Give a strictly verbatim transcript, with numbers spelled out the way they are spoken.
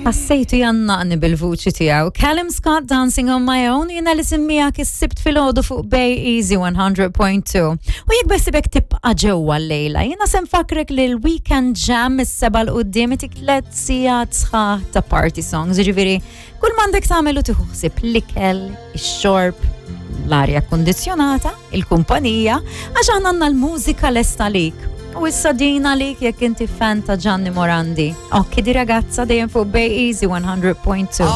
Ħassejtu jgħannaqni bil-vuċi tiegħu. Callum Scott, "Dancing on My Own", jiena li semmijak is-Sibt filgħodu fuq Bay Easy one hundred point two. U jekk beħsiebek tibqa' ġewwa l-lejla, jiena se nfakkrek li l-Weekend Jam is-sebgħa 'l quddiem itik tliet sigħat sħaħ ta' party songs, ġifieri kull m'għandek tagħmel tieħu ħsieb l-ikel, ix-xorb, l-arja kondizjonata, il-kumpanija, għax aħna għandna l-mużika lesta lik. U issa din għalik jekk inti fan ta' Gianni Morandi. "Occhi di ragazza", dejjem fuq Bay Easy one hundred point two.